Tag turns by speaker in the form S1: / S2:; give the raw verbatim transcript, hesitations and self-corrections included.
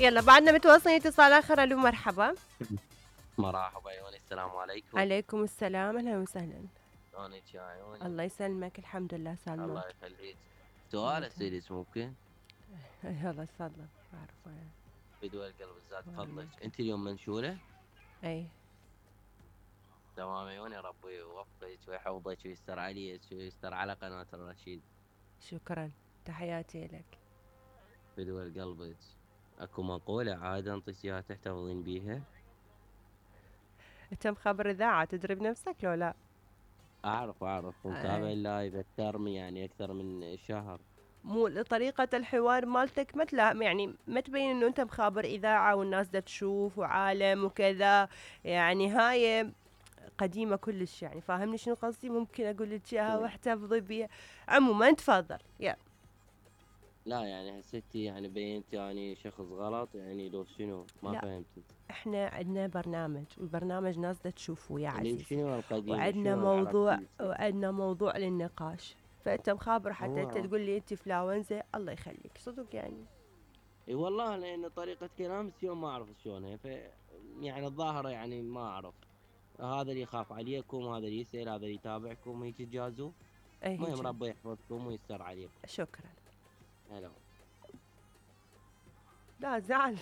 S1: يلا بعدنا متواصلين اتصال آخر. ألو مرحبا.
S2: مرحبا عيوني، السلام عليكم.
S1: عليكم السلام، أهلا وسهلا.
S2: شلونك يا عيوني؟
S1: الله يسلمك، الحمد لله
S2: الله
S1: سالمك.
S2: يخليك.
S1: الله
S2: سؤال
S1: يسلمك.
S2: اسالك ممكن؟
S1: يلا تفضل. أعرف أنا.
S2: بدون القلب زاد فضلك،
S1: وعليك.
S2: انت اليوم منشوره؟
S1: أي.
S2: تمام عيوني، ربي يوفقك ويحفظك ويستر عليك ويستر على قناة الرشيد.
S1: شكرا، تحياتي لك.
S2: بدون قلبك. اكو مقولة عادة انطيك اياها تحتفظين بيها؟
S1: أنت مخبر إذاعة تدري بنفسك لو لا؟
S2: اعرف اعرف ومتابع
S1: أي.
S2: اللايف اكثر من يعني اكثر من شهر.
S1: مو طريقة الحوار مالتك ما تلا يعني ما تبين انه انت مخابر اذاعة والناس دا تشوف وعالم وكذا، يعني هاي قديمة كلش، يعني فاهمني شنو قصدي؟ ممكن اقول لك اياها واحتفظي بيها. عموما تفضل يا.
S2: لا يعني حسيتي يعني بينت يعني شخص غلط يعني لو شنو ما
S1: لا،
S2: فهمتي.
S1: احنا عندنا برنامج والبرنامج ناس دا تشوفه يا
S2: اللي
S1: عزيزي،
S2: شنو القديمة
S1: وعندنا
S2: شنو
S1: موضوع
S2: العلاقة؟
S1: وعندنا موضوع للنقاش. فانت مخابر حتى انت
S2: هو
S1: تقول لي انت فلاونزة، الله يخليك صدق يعني.
S2: اي والله لان طريقة كلامك يوم ما اعرف شلونها ف يعني الظاهرة يعني ما اعرف. هذا اللي يخاف عليكم، هذا اللي يسأل، هذا اللي يتابعكم هيك تجازوا.
S1: اي
S2: المهم
S1: هيك.
S2: ربي يحفظكم ويستر عليكم.
S1: شكرا.
S2: هلا.
S1: لا زعل.